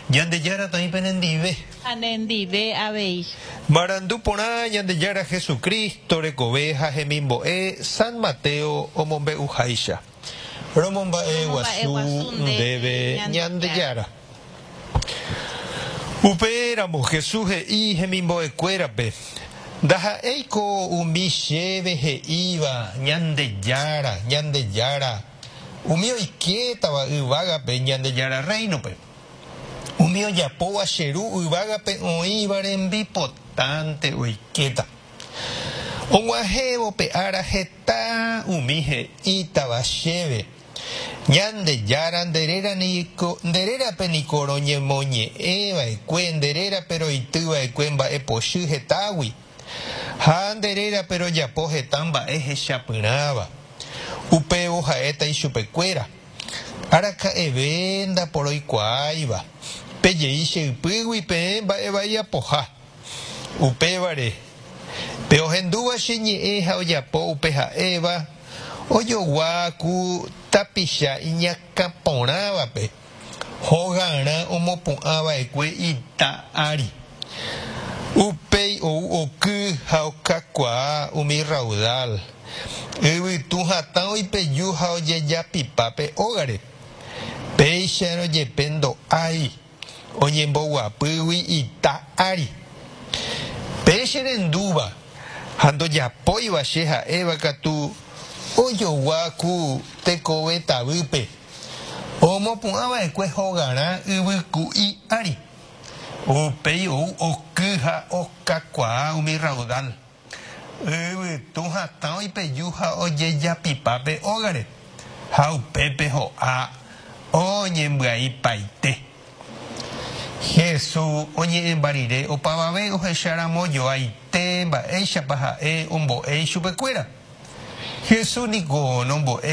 Ñandejára toĩ penendive. Ha nendive avei. Marandu porã Ñandejára Jesucristo rekove ha hemimbo'e San Mateo omombe'uháicha. Romomba'e guasu ndéve Ñandejára. Upéramo Jesús he'i hemimbo'ekuérape, Ndaha'éiko umi chéve he'íva, Ñandejára, Ñandejára, umi oikétava yvágape Ñandejára Rréinope. Umi ojapóva che Ru yvágape oĩva rembipotánte oikéta. Og̃uahẽvo pe ára heta umi he'ítava chéve, Ñandejára, nde réra niko, nde rérape niko roñemoñe'ẽ va'ekue, nde rérape roity va'ekue mba'e pochy hetágui, ha nde rérape rojapo heta mba'e hechapyrãva. Upévo ha'éta ichupekuéra, Araka'eve ndaporoikuaáiva, pejei che ypýgui peẽ mba'e vai apoha. Upévare, pe ohendúva che ñe'ẽ ha ojapo upe ha'éva, ojogua ku tapicha iñakã porãvape, hogarã omopu'ã va'ekue ita ári. Upéi ou oky ha okakuaa umi raudal, yvytu hatã oipeju ha ojejapipa pe ógare. Péicharõ jepe ndo'ái. Oñemboguapýgui ita ári. Pe che rendúva ha ndojapóiva che ha'éva katu ojogua ku tekove tavýpe, omopu'ã va'ekue hogarã yvyku'i ári. Upéi ou oky ha okakuaa umi raudal. Yvytu hatã oipeju ha ojejapipa pe ógare, ha upépe ho'a oñembyaipaite. Jesús oñe'ẽmba rire opavave ohecharamo joaite mba'éichapa ha'e ombo'e ichupekuéra. Jesús niko nombo'e.